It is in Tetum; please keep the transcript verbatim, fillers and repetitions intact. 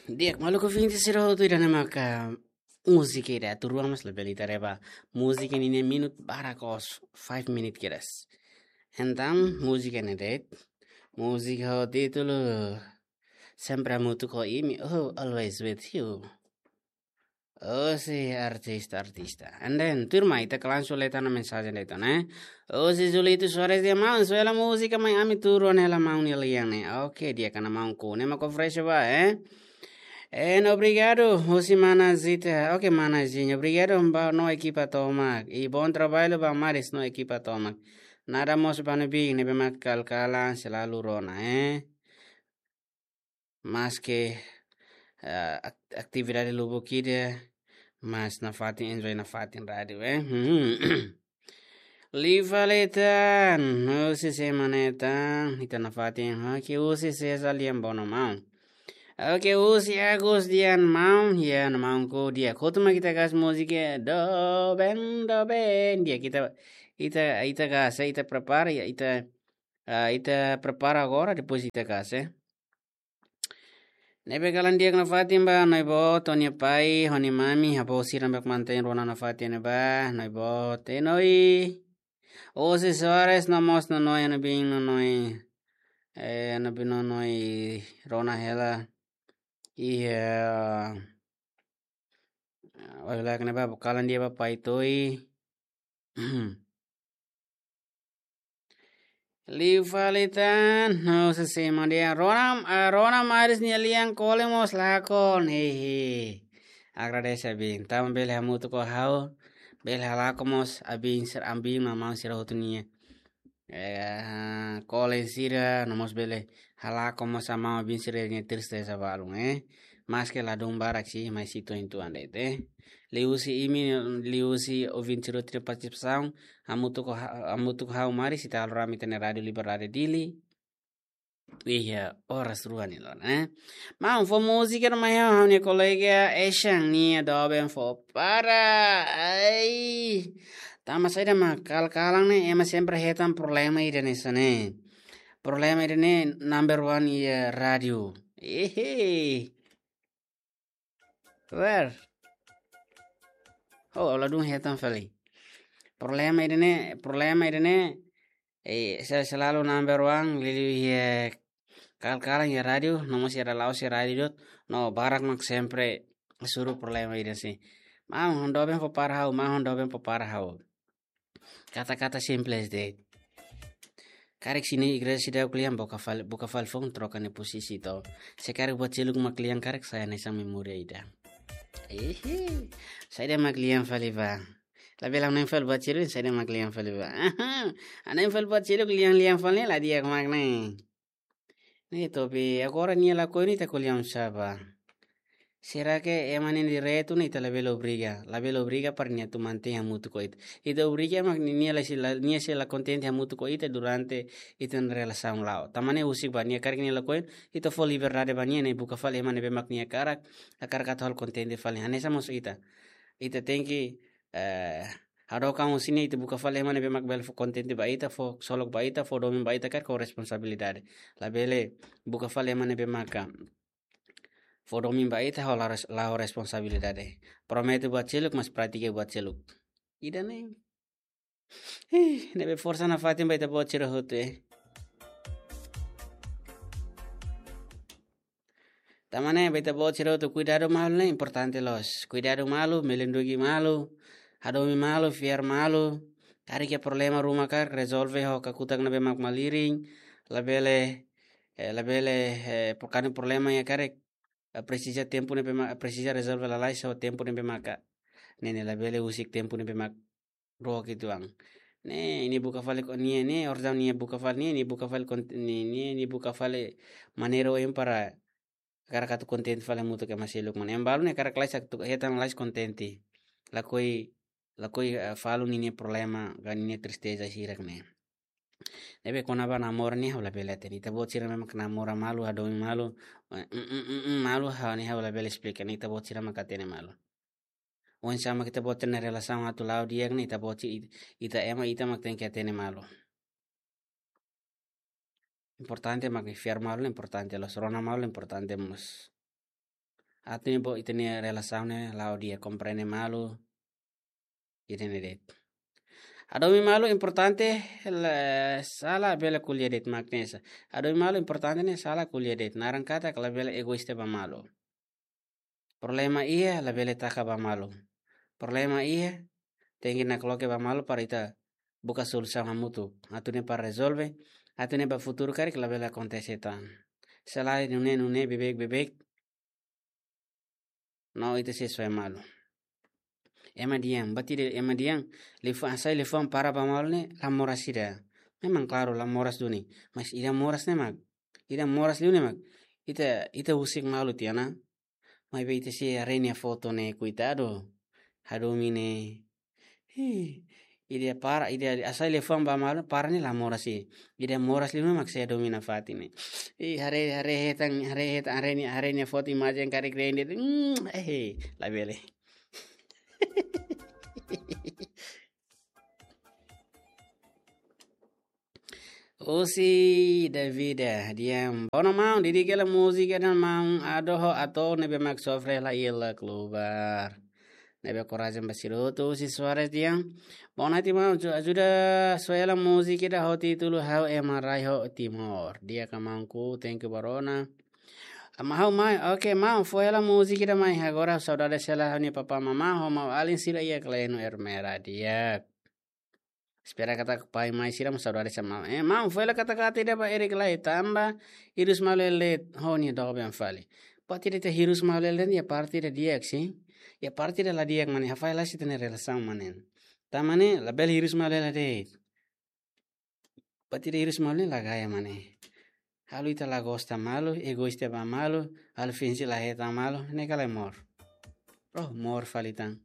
Di'ak, maluk ouvinte sira hotu, ida-ne'e maka múzika ida tuur uitoan, mas labele ita reba múzika ninia minut barak, five minute kedas. Entaun múzika ne'e de'it, múzika ho títulu Sempre Hamutuk ho Imi, oh, Always With You. Husi artista, artista. And then, tuirmai ita langsung lee tan mensajen de'it ona, eh. Husi Julito Soares dehan: "Maun, soe hela múzika mai ami tuur uitoan hela maun nia lian ne'e." Oke, di'ak, maun, ne'e mak oferese ba, eh. Eh, obrigadu, husi mana Zita. Oke, mana Zinha, obrigadu ba no ekipa tomak. I bom trabalho ba Maris no ekipa tomak. Nada mós ba ne'ebé, ne'ebé mak kalkalan selalu rona, eh. Maske, eh, ak-, atividade lubuk ida, mas nafatin enjoy nafatin rádiu, eh. Hmm. Liu fali tan, husi sé mak ne'e tan, ita nafatin, oke, husi César Lian Bono, maun. Oke, husi Agus Dian, maun, ya, no maun ko dia. Kotu mak ita gas múzika, doben, doben, di'ak, ita, ita, ita gas, ita prepara, ya, ita, ah, ita prepara agora, depois ita gas, eh. Ne'ebé kalan di'ak nafatin ba, Noibó, Tonia pai, ho nia mami, avó sira mak mantein rona nafatin ne'e ba, Noibó, Tenoi. Husi Soares, no mós Nonoi, no bin Nonoi. Eh, no bin Nonoi, rona hela. Iya. Olha lá, kena ba, kalan di'ak ba, Pai Toi. Liu fali tan, no se se mandia. Rona, ah, rona Maris nia lian kole mós lakon, hehe. Agradese abin. Tanba bele hamutuk ho ha'u, bele halakon mós abin sira, abin no maun sira hotu nia, eh, kole sira, no mós bele halakon mós maun abin sira nia tristeza balun, eh. Maske ladún barak sih, mas sei to'o uitoan de'it, eh. Liuhusi imi, liuhusi ouvinte sira hotu nia partisipasaun, hamutuk ho ha-, hamutuk ho ha'u Maris, ita halo rame ita-nia Rádiu Liberdade Dili. Iya, oras rua nia laran, eh. Maun, fó múzika ida mai ha'u, ha'u-nia kolega Eshan nia doben fó para. Ai. Tanba saida mak kalkalan ne'e, ema sempre hetan problema ida-ne'e hanesan ne'e. Problema ida-ne'e number one iha rádiu. Ehe. Where? Oh, ladún hetan fali. Problema ida-ne'e, problema ida-ne'e, eh, se-, selalu number one, liuliu iha kalkalan iha rádiu, no mós iha la'o husi rádiu de'it, no barak mak sempre hasoru problema ida-ne'e. Maun, ha'u doben fó para ha'u, maun, ha'u doben fó para ha'u. Kata-kata simples de'it. Karik sira-ne'e igreja seidauk lian, buka fali, buka fali foun, troka nia posisi to. Se karik buat seluk mak lian, karik sai hanesan memória ida. Ehe, saida mak lian fali ba. Labele ha'u na'in fali buat seluk, saida mak lian fali ba. Aha, ha'u na'in fali buat seluk, lian-lian fali ne'e la di'ak mak ne'e. Ne'e to'o be agora nia lakohi ne'e ita ko'alia oinsá ba. Será que ema ne'e direitu ne'e ita labele obriga, labele obriga para nia atu mantein hamutuk ho ita. Ita obriga mak nia, nia la sei la, nia sei la kontente hamutuk ho ita durante ita-nia relasaun la'o. Tanba ne'e husik ba nia, karik nia lakohi, ita fó liberdade ba nia, nia buka fali ema ne'ebé mak nia hakarak, hakarak atu halo kontente fali. Hanesan mós ita. Ita tenke, eh, hadook an husi nia, ita buka fali ema ne'ebé mak bele fó kontente ba ita, fó ksolok ba ita, fó domin ba ita, karik ho responsabilidade. Labele buka fali ema ne'ebé maka fó domin ba ita, ha'u la res-, la ho responsabilidade. Promete buat seluk, mas pratika buat seluk. Ida-ne'e. Ih, ne'ebé forsa nafatin ba ita-boot sira hotu, eh. Tanba ne'e ba ita-boot sira hotu, kuidadu malu ne'e importante loos. Kuidadu malu, melindungi malu, hadomi malu, fiar malu. Karik iha problema ruma karik, rezolve ho kakutak ne'ebé mak malirin, labele, eh, labele, eh, por karik problema iha karik, eh, presiza tempu ne'ebé ma-, presiza rezolve lalais ho tempu ne'ebé maka. Ne'e ne'e labele husik tempu ne'ebé mak rua kitu ang. Ne'e, nia buka fali ko-, nia, nia, orden nia buka fali, nia, nia buka fali kont-, nia, nia, nia buka fali maneira oin para hakarak atu kontente fali hamutuk ho ema seluk, maun. Ema balu ne'e hakarak lalais atu hetan lalais kontente. Lakohi, lakohi, eh, falu ninia problema, ka ninia tristeza sira-ne'e. Ne'ebé kona-ba namora ne'e ha'u labele hatene. Ita-boot sira ne'ebé mak namora malu, hadomi malu, eh, mm, mm, mm, mm, malu, ha'u ne'e ha'u labele esplika, ne'e ita-boot sira mak hatene malu. Oinsá mak ita-boot sira-nia relasaun atu la'o di'ak ne'e ita-boot si-, it-, ita ema ita mak tenke hatene malu. Importante mak fiar malu, importante loos, rona malu, importante mós. atu ne'e bo ita-nia relasaun ne'e la'o di'ak, komprende malu. Ida-ne'e de'it. Hadomi malu importante, la, sala bele ko'alia de'it mak ne'e sá. Hadomi malu importante ne'e sala ko'alia de'it. Naran katak labele egoísta ba malu. Problema iha labele taka ba malu. Problema iha tenke nakloke ba malu para ita buka solusaun hamutuk. Atu ne'e para rezolve, atu ne'e ba futuru karik labele akontese tan. Selae nune'e nune'e beibeik beibeik. No ita sei soe malu. Ema di'ak, buat ida ema di'ak, liafuan, hasai liafuan para ba malu ne'e la moras ida. Memang klaru la moras duni, mas ida moras ne'e mak, ida moras liu ne'e mak ita, ita husik malu tiha ona. Maibé ita sei haree nia foto ne'e, koitadu. Hadomi ne'e. Ih, ida para, ida hasai liafuan ba malu, para ne'e la moras ida. Ida moras liu ne'e mak se hadomi nafatin ne'e. Ih, haree, haree hetan, haree hetan, haree nia, haree nia foto imajen karik rende. Hmm, eh, labele. Husi Davida, di'ak. Bono maun, didik hela múzika ida maun, ado ho ator ne'ebé mak sofre hela iha la klubar. Ne'ebé korajen ba sira hotu, husi Soares, di'ak. Bono ati maun, ju-, ajuda soe hela múzika ida ho títulu Ha'u Ema Rai ho Timor. Di'ak ka maunku, thank you ba rona. Ama ha'u mai, oke maun, fó hela múzika ida mai, agora saudade hela ha'u-nia papá mamá, ho maun-alin sira iha Kleno Ermera, di'ak. Espera katak pai mai sira mós saudade sama. Eh, maun, fó hela kata-kata ida ba Erik lai, tanba hirus malu hela de'it, ho nia doben fali. Buat ida ita hirus malu hela de'it, iha parte ida di'ak, sin. Iha parte ida la di'ak mak ne'e, hafahe la sita-nia relasaun mak ne'e. Tanba ne'e, labele hirus malu hela de'it. Buat ida hirus malu ne'e la gaya mak ne'e. Halo ita la gosta malu, egoísta ba malu, halo finje la hetan malu, ne'e ka lae moras. Oh, moras fali tan.